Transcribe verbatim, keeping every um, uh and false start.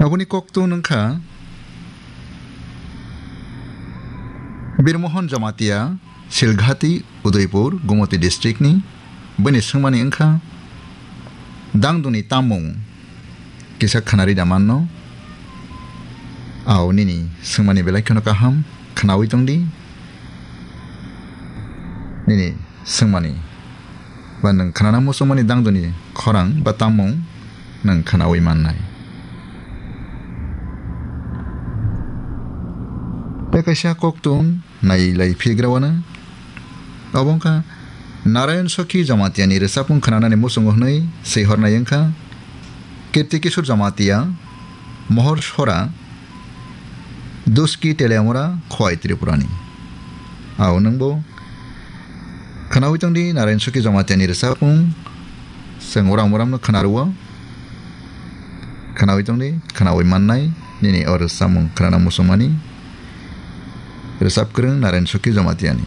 Aboni koktun wngkha Birmohon Jamatia, Silghati, Udaipur, Gumoti district ni. Bini swngmani wngkha, "Dangduni tamung kisa khwnari da manno?" Ao nini swngmani belai kheno kaham, khwnawi tongdi. Nini swngmani ba nwng khwnana muchungmani dangduni khorang ba tamung nwng khwnawi mannai. Tei kaisa koktun nai lai phigra wano. Obo wngkha Narayan Sokhi Jamatia ni rwchapmung khwnanani muchungo hwnwi swi hornai wngkha Kirti Kishore Jamatia, Mohor Sora, Duski Teliamura, Khowai Tripura ni. Ao nwngbo khwnawi tongdi Narayan Sokhi Jamatia ni rwchapmung, chwng uram uram no khwna rwo. Khwnawi tongdi, khwnawi mannai nini o rwchapmung khwnana muchungmani rwchap kwrwng Narayan Sokhi Jamatia ni.